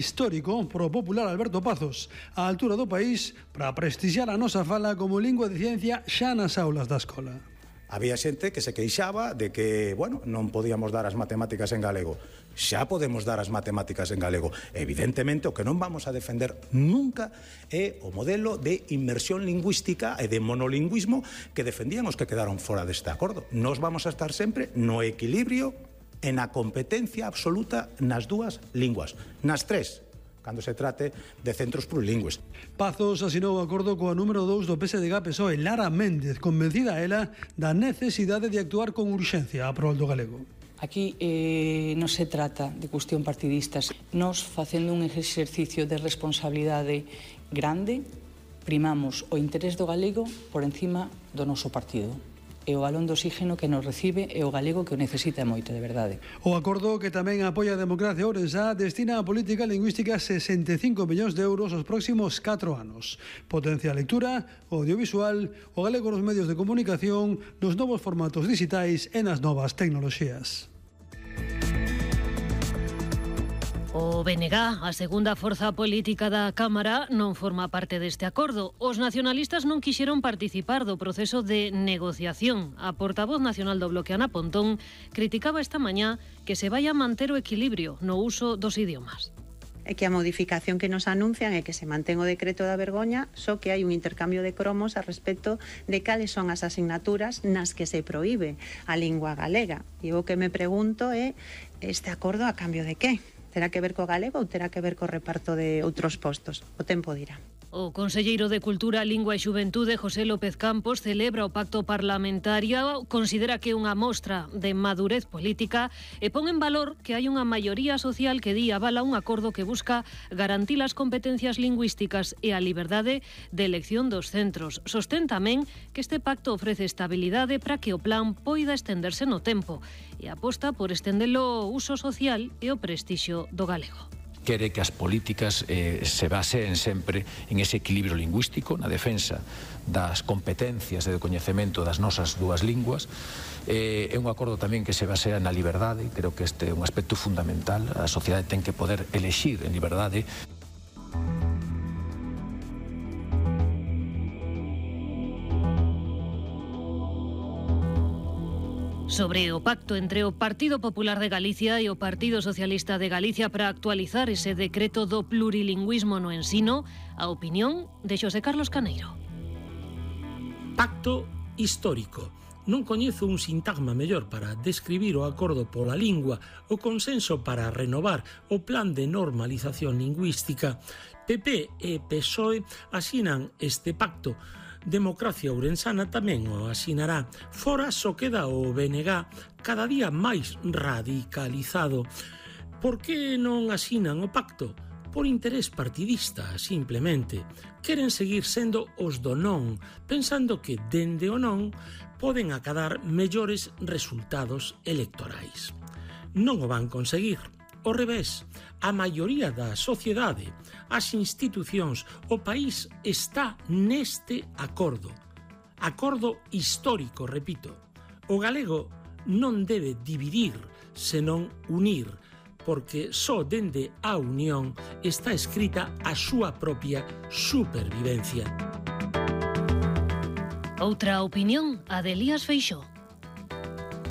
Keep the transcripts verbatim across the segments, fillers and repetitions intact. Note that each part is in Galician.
Histórico pro popular Alberto Pazos, á altura do país, para prestixiar a nosa fala como lingua de ciencia xa nas aulas da escola. Había xente que se queixaba de que, bueno, non podíamos dar as matemáticas en galego. Xa podemos dar as matemáticas en galego. Evidentemente, o que non vamos a defender nunca é o modelo de inmersión lingüística e de monolingüismo que defendían os que quedaron fora deste acordo. Nos vamos a estar sempre no equilibrio e na competencia absoluta nas dúas linguas, nas tres, cando se trate de centros plurilingües. Pazos asinou o acordo coa número dous do P S D G P S O E, Lara Méndez, convencida ela da necesidade de actuar con urxencia a prol do galego. Aquí eh, non se trata de cuestión partidistas. Nos, facendo un exercicio de responsabilidade grande, primamos o interés do galego por encima do noso partido. E o balón de oxígeno que nos recibe é o galego que o necesita moito, de verdade. O acordo, que tamén apoia a democracia ourensá, destina a política lingüística sesenta e cinco millóns de euros os próximos catro anos. Potencia a lectura, o audiovisual, o galego nos medios de comunicación, nos novos formatos digitais e nas novas tecnoloxías. O B N G, a segunda forza política da Cámara, non forma parte deste acordo. Os nacionalistas non quixeron participar do proceso de negociación. A portavoz nacional do Bloque, Ana Pontón, criticaba esta mañá que se vai a manter o equilibrio no uso dos idiomas. É que a modificación que nos anuncian é que se mantén o decreto da vergoña, só que hai un intercambio de cromos a respecto de cales son as asignaturas nas que se proíbe a lingua galega. E o que me pregunto é, este acordo a cambio de que? Terá que ver co galego ou terá que ver co reparto de outros postos? O tempo dirá. O conselleiro de Cultura, Lingua e Xuventude, José López Campos, celebra o pacto parlamentario, considera que é unha mostra de madurez política e pon en valor que hai unha maioría social que di avala un acordo que busca garantir as competencias lingüísticas e a liberdade de elección dos centros. Sostén tamén que este pacto ofrece estabilidade para que o plan poida estenderse no tempo e aposta por estendelo o uso social e o prestixio do galego. Quere que as políticas eh, se baseen sempre en ese equilibrio lingüístico, na defensa das competencias e do coñecemento das nosas dúas linguas. Eh, é un acordo tamén que se basea na liberdade, creo que este é un aspecto fundamental. A sociedade ten que poder elexir en liberdade. Sobre o pacto entre o Partido Popular de Galicia e o Partido Socialista de Galicia para actualizar ese decreto do plurilingüismo no ensino, a opinión de Xosé Carlos Caneiro. Pacto histórico. Non coñezo un sintagma mellor para describir o acordo pola lingua, o consenso para renovar o plan de normalización lingüística. P P e P S O E asinan este pacto. Democracia Ourensana tamén o asinará. Fora só queda o B N G, cada día máis radicalizado. Por que non asinan o pacto? Por interés partidista, simplemente. Queren seguir sendo os do non, pensando que dende o non poden acadar mellores resultados electorais. Non o van conseguir. Ao revés, a maioría da sociedade, as institucións, o país está neste acordo. Acordo histórico, repito. O galego non debe dividir, senón unir, porque só dende a unión está escrita a súa propia supervivencia. Outra opinión, a de Elías Feixóo.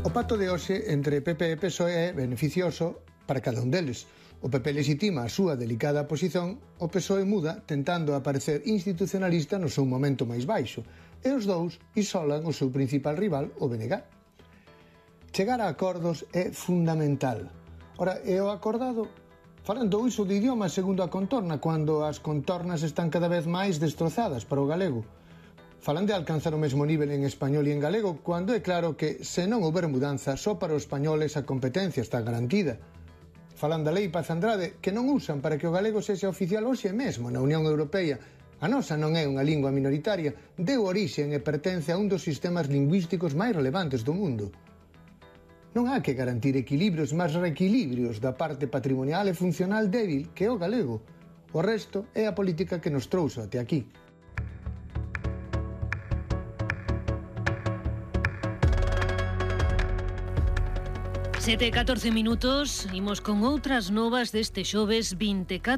O pacto de hoxe entre P P e P S O E é beneficioso para cada un deles. O P P legitima a súa delicada posición, o P S O E muda tentando aparecer institucionalista no seu momento máis baixo, e os dous isolan o seu principal rival, o B N G. Chegar a acordos é fundamental. Ora, e o acordado? Falan do uso de idiomas segundo a contorna, cando as contornas están cada vez máis destrozadas para o galego. Falan de alcanzar o mesmo nivel en español e en galego, cando é claro que, se non houber mudanza, só para os españoles a competencia está garantida. Falan da lei Paz Andrade, que non usan para que o galego sexa oficial hoxe mesmo na Unión Europea. A nosa non é unha lingua minoritaria, deu orixen e pertence a un dos sistemas lingüísticos máis relevantes do mundo. Non há que garantir equilibrios máis reequilibrios da parte patrimonial e funcional débil que é o galego. O resto é a política que nos trouxo até aquí. sete e catorce minutos, imos con outras novas deste xoves vinte e catro